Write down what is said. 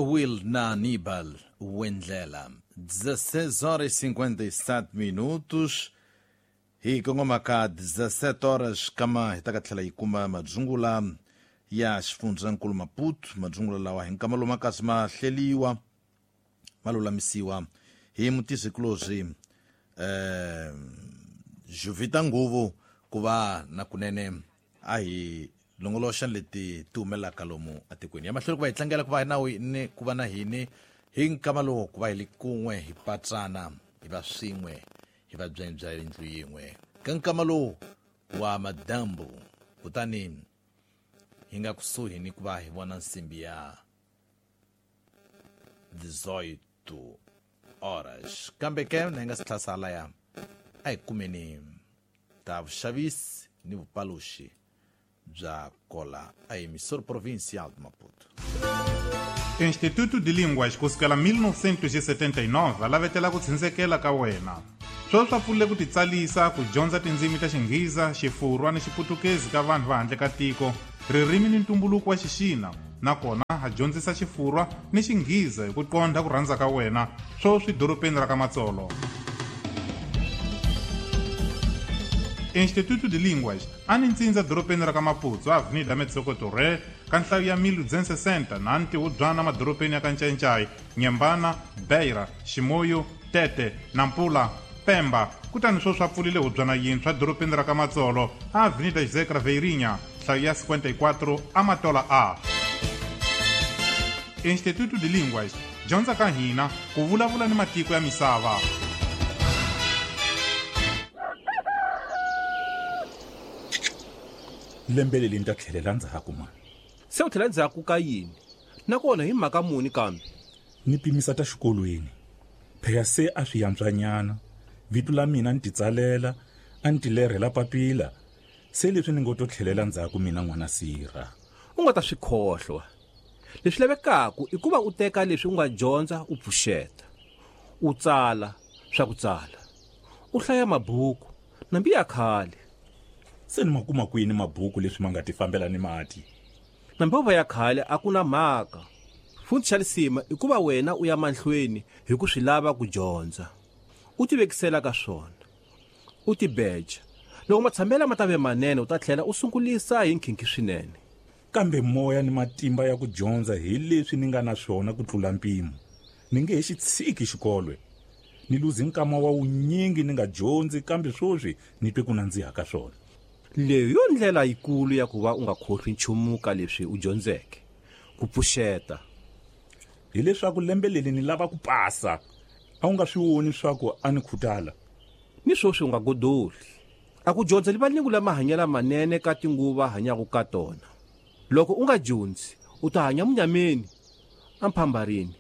Will na Aníbal Wendlela. 16 horas e 57 minutos. Hi kongoma ka 17 horas kama hi ta ka tlhela yi kuma madzungula ya xifundzankulu Maputo. Madzungula lawa hi nkama lowu ma kasi ma hleliwa, ma lulamisiwa hi mutisikulobye Juvita Nguvu ku va na kunene a hi longoloxa leti ti humelelaka lomu atikweni ya mahlweni ku va hi tlangela ku va na ni ku va na hini hi nkama lowu ku va hi li kun'we hi patsana hi va swin'we hi va byanyi bya yindlu yin'we ka nkama lowu wa madambu. Kutani hi nga kusuhi ni ku va hi vona nsimbi ya 18 horas, kambe ke na hi nga si tlhasala ya a hi kumeni ta vuxavisi ni vupaluxi bya kola a emissora provincial de Maputo. Instituto de Línguas kusukela 1979 va lavetela ku tshindzekela ka wena. Sweswi swa pfulile ku titsalisa ku dyondza tindzimi ta Xinghiza, Xifurwa ni Xiputukezi ka vanhu va handle ka tiko, ririmi ni ntumbuluko wa Xixina, nakona ha dyondzisa Xifurwa ni Xinghiza hi ku qondha ku rhandza ka wena, sweswi dorobeni ra ka Matsolo. Instituto de Línguas a ni ntsindza dorobeni ra ka Maputo, Avenida Metsoco Torre, ka nhlayo ya 1260 na ntihubyana madorobeni ya ka Ncayincai, Nyembana, Beira, Ximoyo, Tete, Nampula, Pemba. Kutani sweswi a pfulile hubyana yintshwa dorobeni ra ka Matsolo, Avenida José Craveirinha, nhlayo ya 54, Amatola A. Instituto de Línguas, dyondza ka hina ku vulavula ni matiko ya misava. Lembe leri ni ta tlhelela ndzhaku mani. Se u tlhela ndzhaku ka yini? Nakona hi mhaka muni kambe? Ni pimisa ta xikolweni. Phela se a swi yantswanyana. Vito la mina ni titsalela, a ni tilerhela papila. Se leswi ni ngo to tlhelela ndzhaku mina n'wana sirha. U nga ta swi khohlwa. Leswi lavekaka i ku va u teka leswi u nga dyondza u pfuxeta. U tsala swa ku tsala. U hlaya mabuku nambi ya khale. Se ni ma kuma kwini mabuku leswi ma nga ti fambela ni mati? Nambi va ya khale a ku na mhaka. Futhi xa lisima i ku va wena u ya mahlweni hi ku swi lava ku dyondza. U tivekisela ka swona. U tibeja. Loko matshambela ma ta ve manene u ta tlhela u sungulisa hi nkhinkhi swinene. Kambe moya ni matimba ya ku dyondza hi leswi ni nga na swona ku tlula mpimo. Ni nge he xi tshiki xikolwe. Ni luzi nkama wa wunyingi ni nga dyondzi, kambe sweswi ni twe ku nandziha ka swona. Leyi yo ndlela yikulu ya ku va u nga khohlwi nchumu ka leswi u dyondzeke. Ku pfuxeta. Hileswaku lembe leri ni lava ku pasa. A wu nga swi voni swa ku a ni khutala. Ni sweswi u nga godoli. A ku dyondza livalingu la mahanyelo manene ka tinguva hanyaka ka tona. Loko u nga dyondzi, u ta hanya munyameni, amphambarini.